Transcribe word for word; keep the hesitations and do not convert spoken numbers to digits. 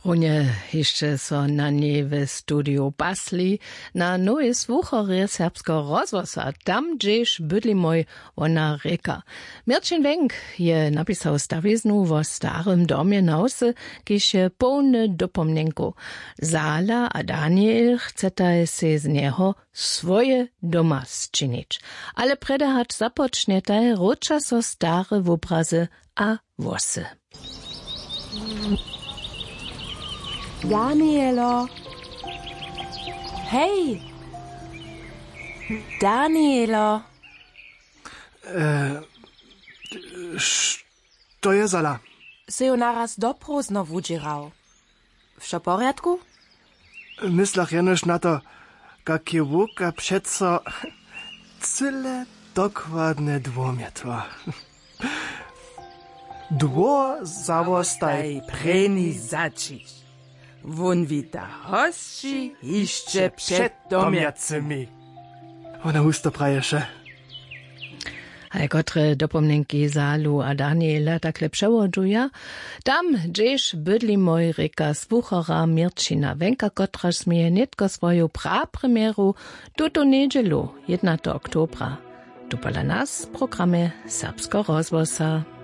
Runje hišće so na njej w studiju pasli, na nowej słucharje serbskeho rozhłosa, tam hdźež bydlimoj, wona rěka. Měrćin Wenk je napisał stawiznu wo starym domje na wsy, kiž je połny dopomnjenkow. Zala a Daniel chcetaj sej z njeho swoje doma sčinić. Ale prjedy hač započnjetaj, wróća so stare wobrazy a włosy. Danielo. Hej. Danielo. E, što je, Zala? Sy ju naraz do prózdno wudźěrał. Wšo w porjadku? Myslach jenož na to, kak je wowka přeco cyle dokładne dwór mjetła. Dwór zawostaj prěni zaćiš. Wón wita hosći hišće před domjacymi. Wona husto praješe. Haj, kotre dopomnjenki Zalu a Daniela takle přewodźuja? Tam hdźež bydli mój, rěka słuchara Měrćina Wenka, kotraž směje nětko swoju prapremjeru tutu njedźelu, jědnateho oktobra, tu pola nas w programje Serbskeho rozhłosa.